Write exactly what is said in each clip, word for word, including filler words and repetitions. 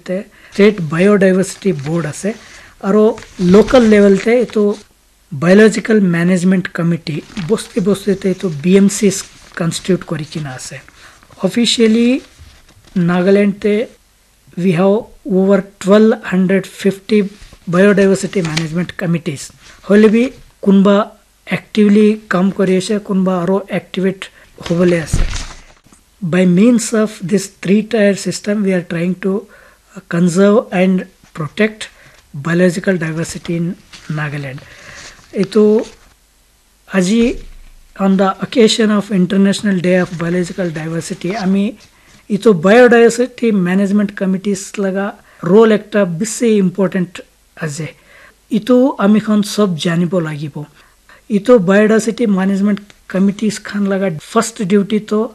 te state biodiversity board ase, aro local level te etu biological management committee, bosti bosti te etu B M Cs constitute kori kina ase. Officially Nagaland te we have over twelve hundred fifty biodiversity management committees. Hoile bi kunba actively kam kori ase, kunba aro activate hobole ase. By means of this three tier system, we are trying to conserve and protect biological diversity in Nagaland. Etu aji, on the occasion of International Day of Biological Diversity, ami etu biodiversity management committees laga role ekta bisi important ase. Etu ami khan sob janibo lagibo. Etu biodiversity management committees khan laga first duty to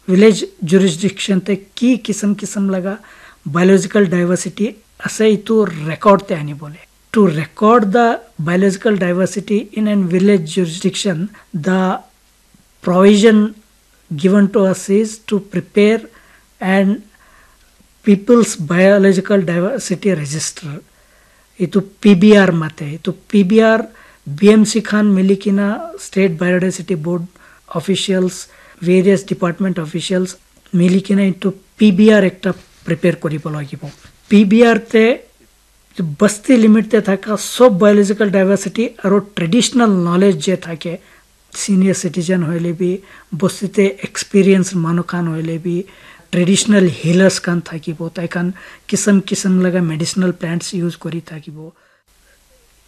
village jurisdiction te ki kisam kisam laga biological diversity ase, etu record te anibole. To record the biological diversity in an village jurisdiction, the provision given to us is to prepare an People's Biological Diversity Register. Itu P B R mate, itu P B R, B M C khan mili kina, State Biodiversity Board officials, various department officials mili kina itu P B R ekta prepare koribo lagibo. P B R te basti limit te thaka sob biological diversity aro traditional knowledge je thake, senior citizen hoile bi, bosti te experience manu khan hoile bi, traditional healers khan thakibo, tai khan kisam kisam laga medicinal plants use kori thakibo.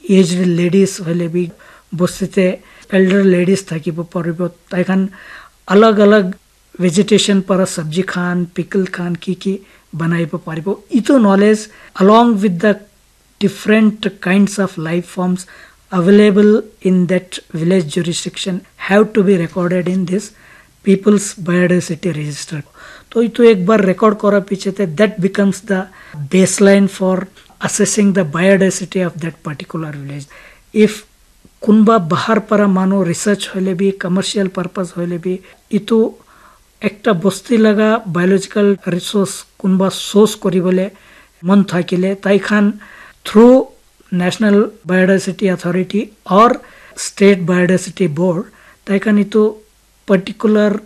Aged ladies hoile bi, bosti te elder ladies thakibo paribo, tai khan alag alag vegetation para sabji khan, pickle khan, ki ki banai bo paribo. Itu knowledge along with the different kinds of life forms available in that village jurisdiction have to be recorded in this People's Biodiversity Register. To itu ek bar record kora piche te, that becomes the baseline for assessing the biodiversity of that particular village. If kunba bahar para manu research hoile bi, commercial purpose hoile bi, itu ekta bosti laga biological resource kunba source koribole mon thakile, tai khan through National Biodiversity Authority or State Biodiversity Board, tai khan itu particular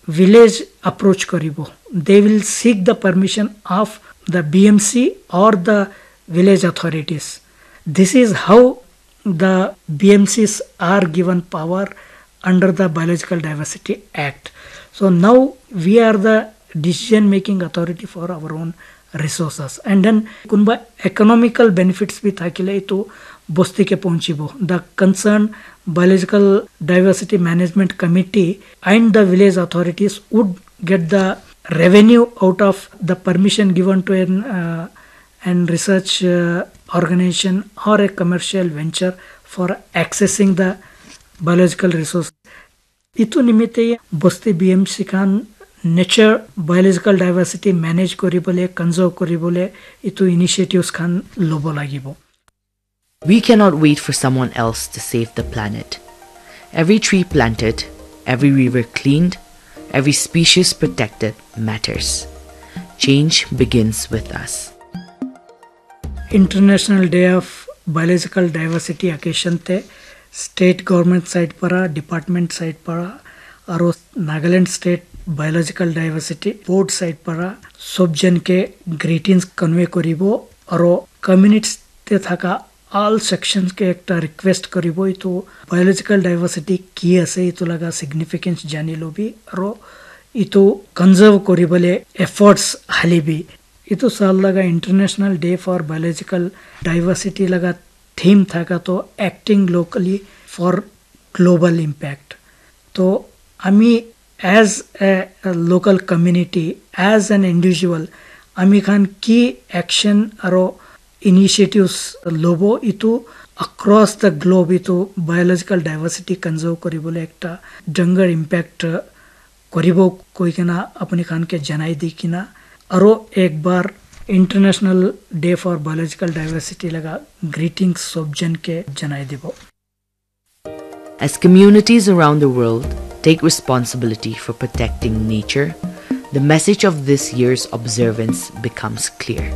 village approach koribo. They will seek the permission of the B M C or the village authorities. This is how the B M Cs are given power under the Biological Diversity Act. So now we are the decision making authority for our own resources. And then kunba economical benefits bi thakile itu bosti ke pahunchibo. The concerned Biological Diversity Management Committee and the village authorities would get the revenue out of the permission given to an uh, and research uh, organization or a commercial venture for accessing the biological resource. Itu nimite bosti B M C khan nature biological diversity manage koribole, conserve koribole itu initiatives khan lobo lagibo. We cannot wait for someone else to save the planet. Every tree planted, every river cleaned, every species protected matters. Change begins with us. International Day of Biological Diversity occasion te state government side para, department side para, aro Nagaland State Biological Diversity Board side para sob jan ke greetings convey koribo, aro communities te thaka all sections ke ekta request koribo, itu biological diversity ki ase, itu laga significance jani lobi, aro itu conserve koribole efforts halibi. Itu sal laga International Day for Biological Diversity laga theme thaka to acting locally for global impact. To ami as a, a local community, as an individual, ami khan ki action aro initiatives lobo itu across the globe itu biological diversity conserve koribole ekta dangor impact koribo koi kena apni khan ke janai di kena aro ek bar International Day for Biological Diversity laga greetings sob jan ke janai dibo. As communities around the world take responsibility for protecting nature, the message of this year's observance becomes clear.